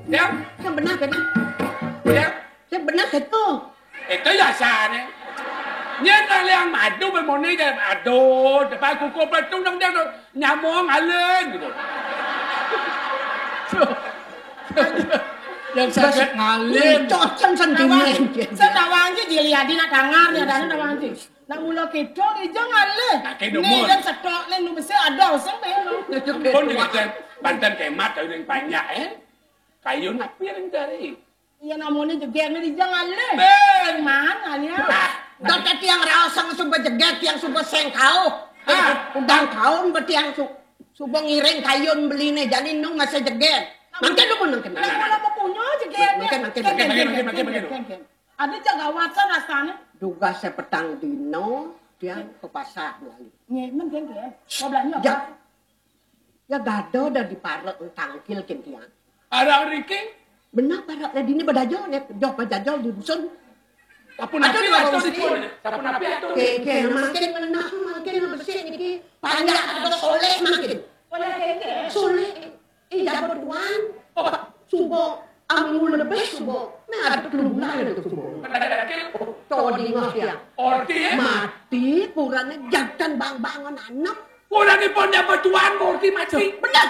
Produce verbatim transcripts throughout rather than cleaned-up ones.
Yang? Yang benar kan? Yang? Yang benar kan tu? Itu ya sana. Nyén kalian madu bermoni dan aduh, depan kuku petung dong dia nyamuk ngalén gitu. Yang sakit ngalén. Cocok sendiri. Saya nak wangi dilihat nak dengar ni ada nak wangi. Nak mula kita ni jangan leh. Nak kena ni dan setok ni nu besi ada usang melo. Pun dengan banten kemat kau yang banyak eh. Kayu nak piring dari. Iya namanya jeger ni dijang alé. Ben. Mana ya? Ah, dak tiang raosang suba jeger tiang suba sengkau. Ah. Udang kaum ba tiang su, suba ngiring kayun beline jani nung masih jeger. Mangke lu pun mangke. Nah, nah, nah. Kalau punya jeger. Mangke, mangke, mangke, mangke, mangke, mangke. Ada cak gawatan rasanya. Duga sepetang dino tiang ke pasar beli. Nyemen kan dia. Mau belanja apa? Ya gado dah diparek tangkil kin tiang. Arang riking. Benar parek dah dini badajo nek joh badajo di dusun. Sapu napi atau di pun? Sapu napi atau? Ke ke makin menah makin besik niki panjak atau soleh makin. Soleh. Ih jago tuan. Oh. Subo amun lebih subo. Nah ada kelumlah ada subo. Codi mah ya. Orti ya? Mati purane jatan bang-bangan anak. Purane pon jago tuan orti mati. Benar.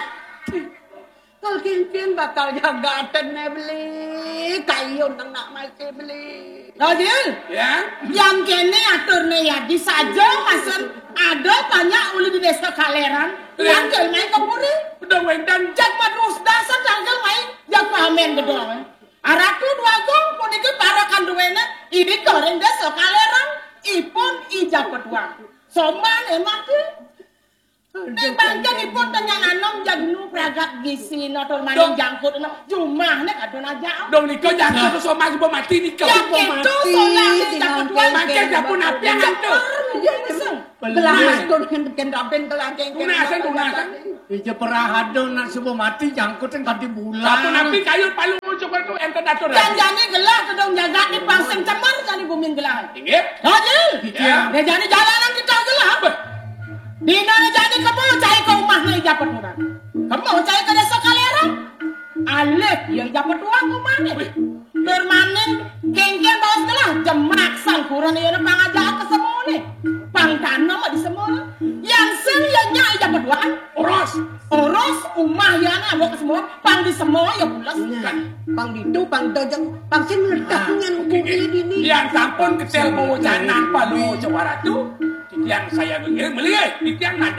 Kalau kinkin bakal jagatan ne beli. Kayu nang nak masih beli. Rajil. Ya. Yang kene atur ne ya di saja masen ada banyak uli di desa Kaleran. Ya. Tanggal main ke puri. Udah wendan. Jak madus dasar tanggal main jak pamen gedong. Aratu dua gong puniki para kanduwene ini goreng desa Kaleran ipun ijab peduang. Soman emaki. Ning bangken ipun tengah anom jagnu pragat gisi natur maning jangkut enem jumah nek adun aja. Dong nika jangkut soman suba mati nika. Yang itu solang ijab peduang. Makin dapun api yang antuk. Gelah matur ken ken raben gelah ken ken. Tunasan tunasan. Ija perahado nak suba mati jangkut kan kanti bulan. Apa napi kayu palu muncul tu enten atur. Janjane gelah kedong jagat di pang sing cemer jani bumi gelah. Inggih. Haji. Ya. Ya jani jalanan kita gelah. Dina ne jani kemo cai ke rumah ne ija peduran. Kemo cai ke desa Kaleran. Alih ya ija peduran rumah ne. Tur maning kengken baos gelah jemak sangkuran iya ne pang aja ke semone. Pang tanem di semone. Yang sing ya nyak ija peduan. Oros. Oros umah ya ne ambo ke semone. Pang di semone ya pules. Nah, pang ditu pang dojeng pang sing meledak dengan bumi dini. Yang sampun kecil mau janan palu jawara tu. Titiang saya ngiring melih. Titiang nak